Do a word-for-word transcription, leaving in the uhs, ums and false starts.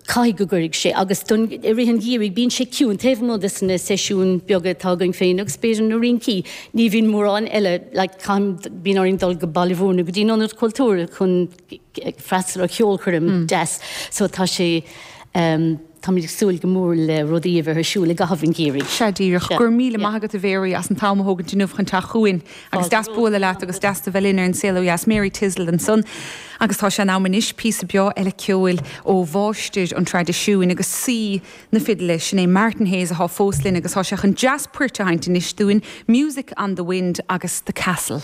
Caithfidh go gcuirfidh sé agus don i rith an gheimhridh bíonn sé ciúin taobh amuigh de na seisiúin beaga atá againn féin agus b'fhéidir na rincí ní bhíonn mórán eile like, bíonn orainn dul go Baile Mhúirne go dtí an Ionad Cultúir chun freastal ar cheolchoirm mm. deas so tá sé um, Táimid ag súil go mór le rudaí a bheith ar siúl i gcaitheamh an gheimhridh. Sea díreach go raibh míle maith agat a Mhary as an t-am a thógaint inniu chun teacht chugainn agus deas bualadh leat agus deas do bheith linn ar an Saol Ó Dheas Mary Tislett ansan. Agus tá sé in am anois píosa beo eile ceoil ó mháistir an traidisiúin agus saoi na fidle sin é Martin Hayes atá fós linn agus tá sé chun deas poirt a sheinnt anois dúinn, Music on the Wind agus The Castle.